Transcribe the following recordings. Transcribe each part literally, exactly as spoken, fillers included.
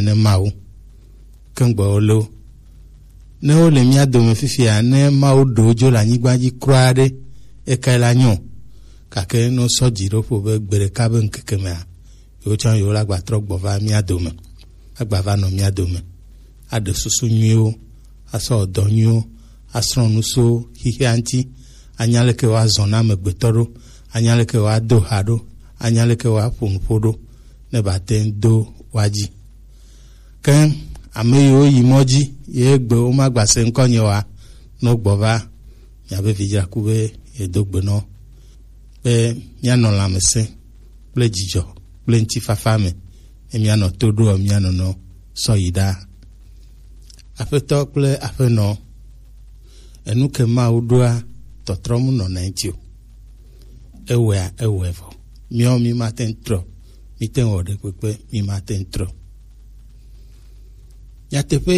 ne Mawu. Ke ŋgbe wo le wo. Ne wo le mía dome fifia, ne Mawu ɖe wo dzo le anyigba dzi kura ɖe, ekae la nyo. Gake ne wosɔ dzi ɖo ƒo be gbe ɖeka be ŋkeke mea, yewo tsã yewo la gba trɔ gbɔ va mía dome, agba va nɔ mía dome, aɖe susu nyuiwo, asɔ dɔ nyuiwo, asrɔ̃ nu so xixia ŋuti, anya leke woazɔ na amegbetɔ ɖo, anya leke woado ha ɖo, anya leke woaƒo nuƒo ɖo, ne bate ŋu do woa dzi. Ke ame yiwo yi mɔ dzi ye gbe womagba se ŋkɔnye oa, ne wogbɔ va, miabe vidzraku be yedo gbe nɔ be míanɔ lãmesẽ kple dzidzɔ kple ŋutifafa me, ne míanɔ to ɖoa mía nɔnɔ sɔ yi ɖaa. Aƒetɔ kple aƒenɔ, enu ke Mawu ɖoa, tɔtrɔ mu nɔna eŋuti o. Ewɔea, ewɔe vɔ. Míawo mímate ŋu trɔ. Míte ŋu wɔ ɖekpekpe, mímate ŋu trɔ. Nyateƒe,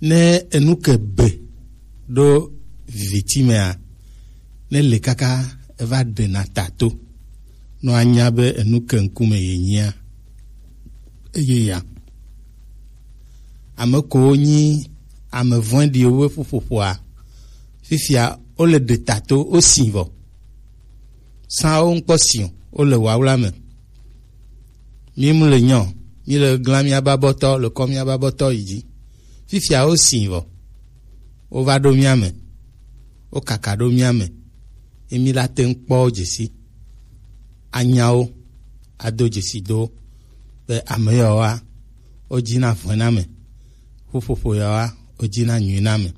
ne enu ke be ɖo viviti mea, ne le kaka eva ɖena ta to, nɔ anya be enu ke ŋkume yenyia, eye ya. Ame kowo nyi ame vɔ̃ɖiwo ƒe ƒuƒoƒoa, fifia wole ɖe ta to, wosi vɔ. Sã wo ŋkpɔ si o, wole wawla me. Mí mu le nyɔ, mí le glã míabe abɔtɔ, le kɔ míabe abɔtɔ yi dzi. Fifia wosi vɔ. Wova ɖo mía me. Wokaka ɖo mía me. Ye mí la te ŋu kpɔ wo dzesi. Anya wo, ado dzesi do wo be ame yawoa, wodina vɔ̃e na ame. Ƒuƒoƒo yawoa, wodina nyui na ame.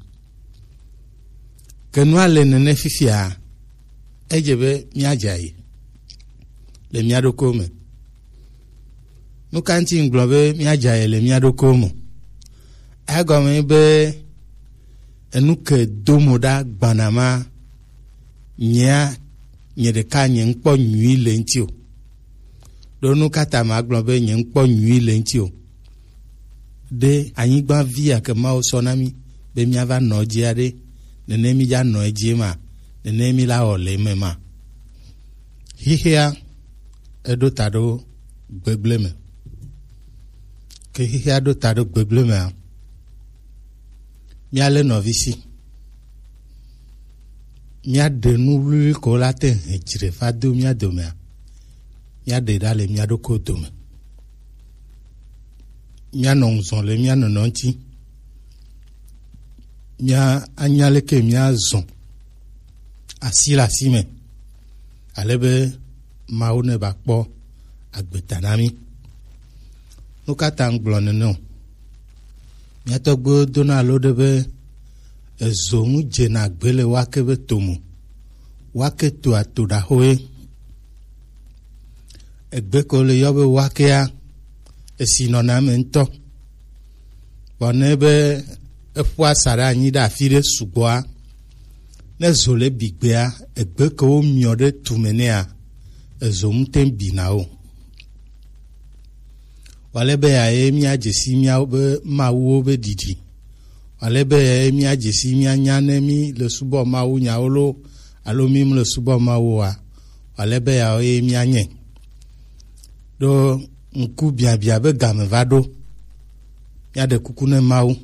Ke nua le nene fifia, edze be míadze ayi le mía ɖokuiwo me. Nu ka ŋuti ŋgblɔ be míadze ayi le mía ɖokuiwo me? Egɔme be enu ke do mo ɖa gbana ma, nyea, nye ɖeka nye ŋkpɔ nyui le ŋuti o. Ɖo nu ka ta magblɔ be nye ŋkpɔ nyui le ŋuti o? Ɖe anyigba vi ya ke Mawu sɔ na mí be míava nɔ edzia ɖe, nene mí dza nɔ edzi ma, nene mí la wɔ le eme ma. Xixea eɖo ta ɖo gbegblẽ me. Ke xixea ɖo ta ɖo gbegblẽ mea, míalé nɔvi si. Míaɖe nu wluiwlui ko la te hɛn dzre va do mía domea, míaɖe ɖa le mía ɖokui dome. Míanɔ ŋuzɔ le mía nɔnɔ ŋuti. Mía anya leke míazɔ asi le asi me, ale be Mawu ne va kpɔ agbeta na mí. Nu ka ta ŋgblɔ nene o? Mía tɔgbuiwo dona alo ɖe be ezo ŋu dzena gbe le wake be to mo. Wake toa to ɖaxo ye. Egbe ko le yɔ be wakea, esi nɔna eme ŋutɔ. Vɔ ne be eƒua sa ɖe anyi ɖe afi ɖe sugbɔa, ne zo le bi gbea, egbe ke womiɔ ɖe tume nɛa, ezo ŋute bina o. Wale be ya ye míadze si míawo be mawuwo be ɖiɖi. Wale be ya ye míadze si míanya ne mí le subɔ Mawu nyawo lo, alo mí mle subɔ Mawu oa. Wale be ya ye míanye. Ɖo ŋku biabia be game va ɖo. Míaɖe kuku ne Mawu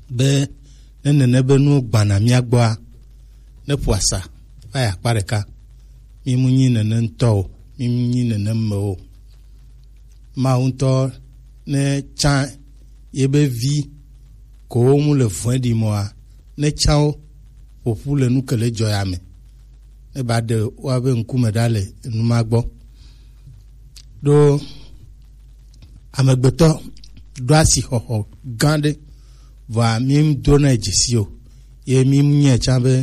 be ne nene be nuwo gbana mía gbɔa, ne ƒo asa va yi akpa ɖeka. Mí mu nyi nene ŋutɔ o, mí mu nyi nene me o. Mawu ŋutɔ ne tsã yebe vi kowo mu le vɔ̃e ɖi mɔa, ne tsã wo ƒoƒu le nu ke le dzɔ ya me. Ne ba ɖe woabe ŋkume ɖa le enu ma gbɔ. Ɖo amegbetɔ ɖo asixɔxɔ gã ɖe, vɔa mí dona dzesi o, ye mí nyae tsã be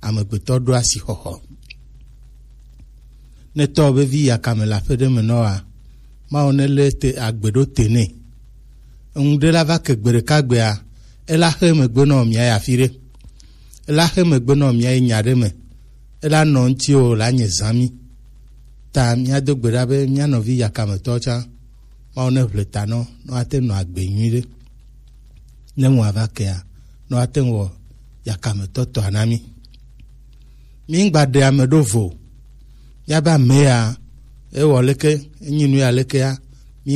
amegbetɔ ɖo asixɔxɔ. Ne tɔ be vi yakame le aƒe ɖe me nɔ wa, Mawu ne lé te agbe ɖo te nɛ. Eŋu ɖe la va ke gbe ɖeka gbea, ela xe megbe nɔ mía yi afi ɖe. Ela xe megbe nɔ mía yi nya ɖe me. Ela nɔ ŋuti o la nye zã mí. Ta míado gbe ɖa be mía nɔvi yakametɔ tsã, Mawu ne ʋle ta nɔ, nɔ ate nɔ agbe nyui ɖe. Ne ŋu ava kea, nɔ ate ŋu wɔ yakametɔ tɔa na mí. Mí ŋgba ɖe ame ɖo vo. Míabe ame ya, ewɔ leke, enyi nu ya lekea,